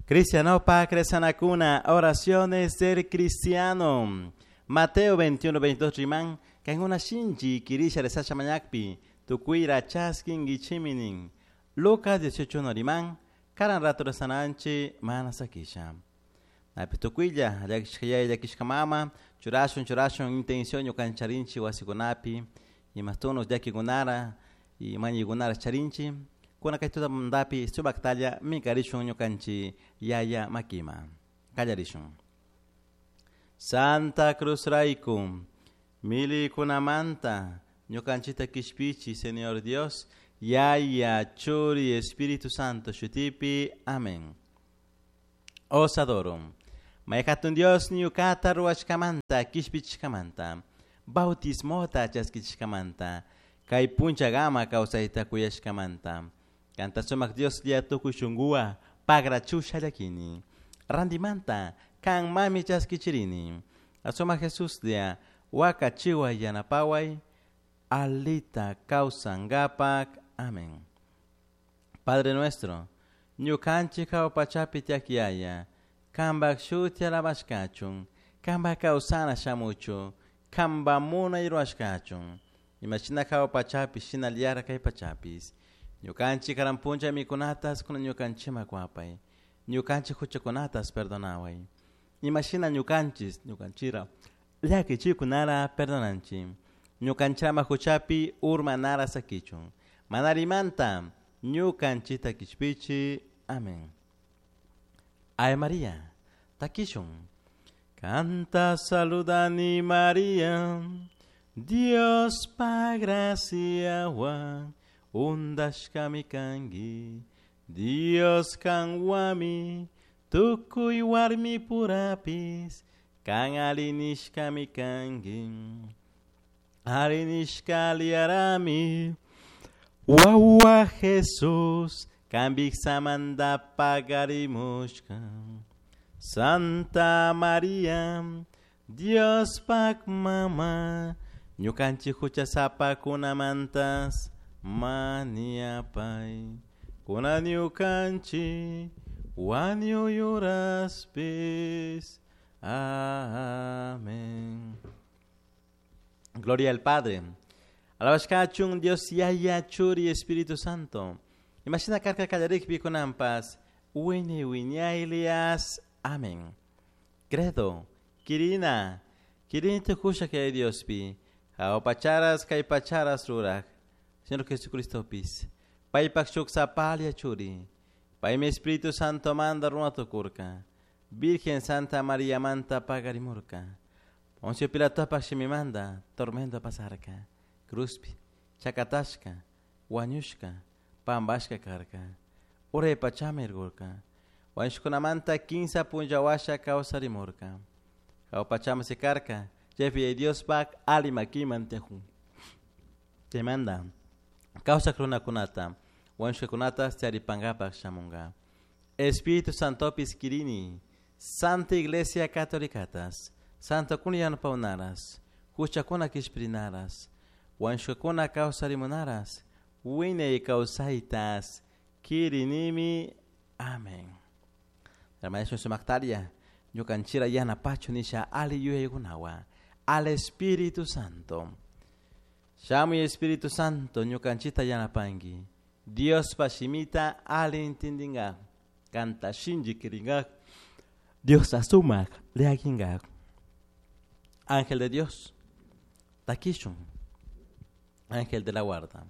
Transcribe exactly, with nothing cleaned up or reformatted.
Cristianopa Cresanacuna, oraciones del cristiano. Mateo veintiuno, veintidós riman, kankuna shinchi kirisha rezasha mañakpi, tukuyra chaskinkichiminin. Lucas dieciocho uno riman, karan rato rezananchi mana sakisha. Napi tukuylla, llakishka yaya, llakishka mama, churashun, churashun, intención ñukancharinchi wasikunapi, imastunos llakikunara, y mañikunara charinchi, kuna kay tutamantapi sumaktalla minkarishun ñukanchi yaya makima. Kallarishun. Santa Cruz rayku, milikunamanta, ñukanchita kishpichi, Señor Dios, Yaya, Churi, Espíritu Santo, shutipi, amén. Os adoro. Mayhatun Dios ñukata ruwashkamanta, kishpichishkamanta, bautismota chaskichishkamanta, kay punchagama kawsayta kuyashkamanta. Kanta sumak Dios lia tukuy shunkuwa pagrachusha llakini. Randimanta kan mami chaskichirini. Asumak Jesus lia wakachiway yanapaway alita kawsankapak. Amén. Padre nuestro, ñukanchik hawa pachapi tiyak Yaya, kanpak shuti alabashkachun, kanpak kawsana shamuchu, kanpak munay ruwashkachun. Imashina hawa pachapi shinallara kay pachapis. Ñukanchik karan puncha mikunatas kuna ñukanchima kuapay. Ñukanchik huchakunatas perdonaway. Imashina ñukanchis, ñukanchira, llakichikunara perdonanchi. Ñukanchama huchapi urmanara sakichun. Manarimanta, ñukanchita kishpichi. Amén. Ave María, takishun. Canta saludani María, Dios pa gracia wa, undashkami kangi, Dios kanwami, tukuy warmi purapis, kan alinishkami kangi. Alinishka liarami, wawa Jesús, kambik samanda pagarimushka. Santa María, Dios pak mama, ñukanchik huchasapakunamantas maniapay. Kuna ñukanchik wañuyuraspis. Amén. Gloria al Padre. Alabashkachun Dios Yaya, Churi, Espíritu Santo. Imagina karka kallarikpi kunampas, wini wiñaylias. Amén. Credo, Kirina, Kirini tukusha kay Diospi, hawa pacharas kay pacharas ruraj, Señor Jesucristo pis, paypak shuk sapalia churi, paymi Espíritu Santo manda runa tukurka, Virgen Santa María manta pagarimurka, Poncio Pilatopak shimimanda tormento pasarka, cruzpi, chakatashka, wañushka, pambashka karka, uray pachama irgurka, wañushkunamanta kinsa punllawasha kawsarimurka, hawa pachama sikarka, chaypi Diospak ali makiman tiyakun. Chaymanta kawsak runakunata, wañushkakunata charipankapak shamunka. Espíritu Santopis kirini, Santa Iglesia Católicatas, Santokuna yanapawnaras, huchakuna kishpirinaras, wañushkakuna kawsarimunaras, wiñay kawsaytas kirinimi. Amén. Hermano sumaktaria, ñukanchira yanapachu nisha ali yuyaykunawa, al Espíritu Santo. Shamuy Espíritu Santo, ñukanchita yanapanki. Dios pashimita ali intindinga, kanta shinji kiringa, Dios asumak leakinga. Ángel de Dios, takishun, ángel de la guarda.